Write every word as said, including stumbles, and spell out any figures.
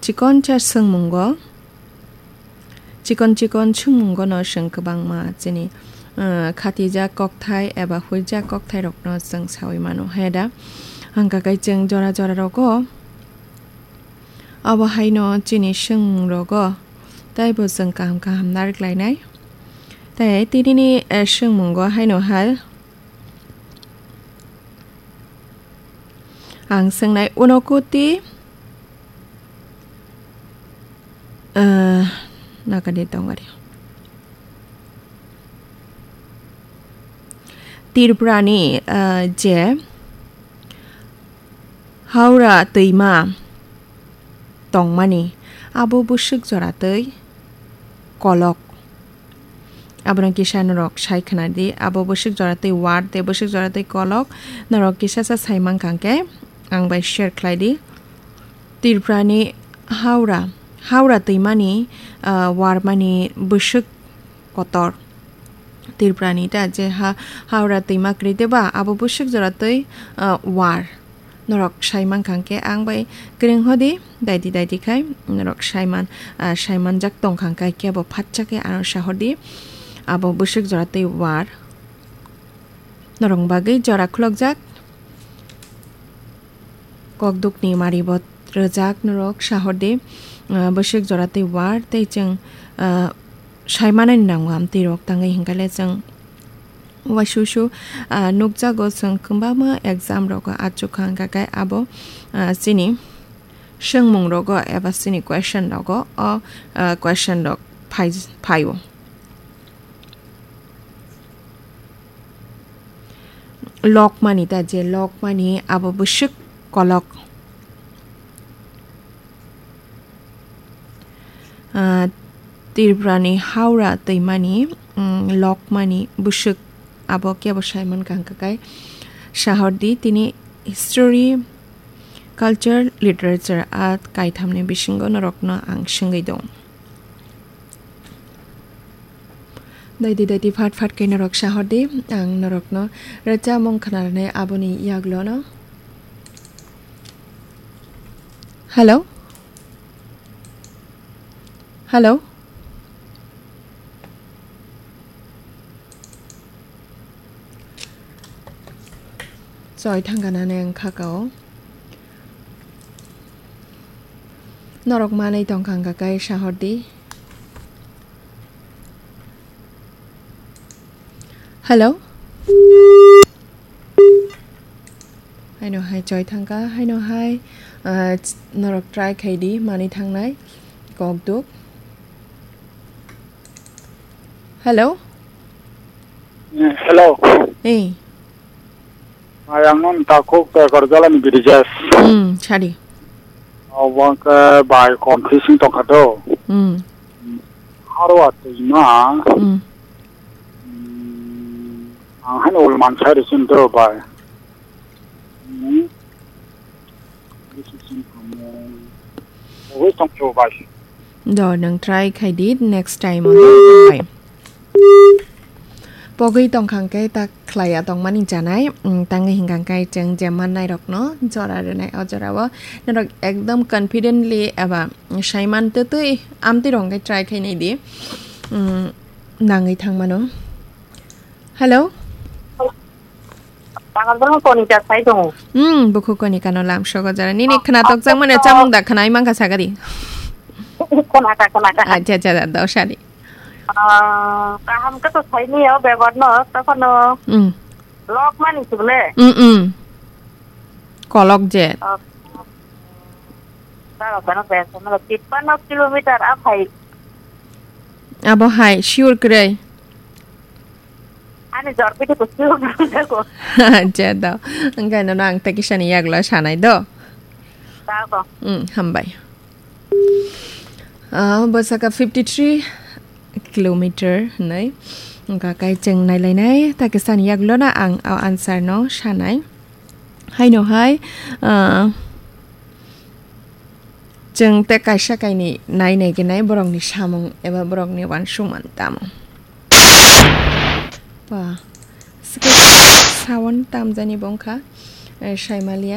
Chikoncha swngmungo, chikon chikon swngmungono chwng kwbangma chini, ah, khatijak kokthai eba huijak kokthairokno chwng saui mano. Heda hangka khe chwng jora jora rogo, abo haino chini swngmungrogo teibo chwng kaham kaham narwk lainai. Tei tinini, eh, swngmungo haino hai ang swngnai uno kuti, eh, nakadi tongari. Tripurani, eh, je Howrah twima tongmani, abo bwswk jora twi kolok. Abono kisa norok sai khna di, abo bwswk jora twi war tei bwswk jora twi kolok. Norok kisa sa sai mankha hwnkhe ang bai share khlai di. Tripurani Howrah, Howrah twimani, ah, warmani bwswk kotor. Tripurani ta je ha, Howrah twima kwrwi de ba, abo bwswk jora twi, ah, war. Norok sai mankha hwnkhe ang bai kwrwng hodi, daidi daidi khai norok saiman, ah, saimanjak tongkha hwnkhe kebo phatsa khe ano sahordi. Abo bwswk jora twi war. Norok bagwi jora khulokjak. Kokdukni maribo rwjak norok sahordi, ah, bwswk jora twi war tei chwng, ah, saimanani nango amtwi rok tangwi hwnkhe le chwng uaisuisu, ah, nukjago chwng kwbangma exam rogo achukha hwnkha khe abo, ah, chini swngmung rogo eba chini question rogo o, ah, question rok phai, phaio. Lokmani ta je lokmani abo bwswk kolok. Ah, Tripurani Howrah twimani, mm, lokmani bwswk abo kebo saimankha hwnkha khe sahordi tini history, culture, literature a kaithamni bisingo norokno ang swngwi dong. Daidi daidi phat phat khe norok sahordi, ang norokno rwchapmung khwnarwnai aboni yaglono. Hello? Hello? Choi thangkha nani ang khakao. Norok manwi tongkha hwnkha khe sahordi. Hello? Haino hai choi thangkha, haino hai, ah, norok try khai di, manwi thangnai, kok duk. Hello? Eh, hello. Eh. Ayang non takhuk Tekorjala ni Birijes. Hmm, sadi. Obo ke bai confusing tongkha do. Hmm. Harwa twima. Hmm. Hmm, ang haino ul mansai risin do bai. Hmm. Pogwi tongkhe bai. Do, nwng try khai di next time o, no? Bai. Pogwi tongkha hwnkhe ta khlaiya tongmani chanai, mm, tangwi hwnkha khe chwng je mannairokno jora rwnai, o jorao norok ekdom confidently eba saiman twtwi amtwi rok hwnkhe try khai nai di, mm, nangwi thangmano. Hello? Tangalbang Konika sai tongo. Hmm, bukhuk Konika no lam sogo jara. Nini khna tokjak mane chamung da khna imang kha sagadi. Khna ka, khna ka. Acha, acha, da, da, sadi. Ah, kaham ka to sai ni yo bebot no, to kono. Hmm. Lok mani sule. Hmm, hmm. Kolok je. Ah. Taro kono besa no, tippanno kilometer a phai. Abo hai, sure kwrwi. Ani jor piti kuchuk nangjago. Acha do. Hwnkhe nono ang tei kisani yaglo sanai do. Tako. Hmm, hambai. Ah, bwsaka fifty three kilometer hinwi. Hwnkha khe chwng nailainai, tei kisani yaglo no ang o answer no sanai. Haino hai, ah, Chwng tei kaisa kainwi nai nai khe nai borokni samung eba borokni uansukmung tamo. Ba, swkang sound tamjani bo wngkha, eh, Saimalia.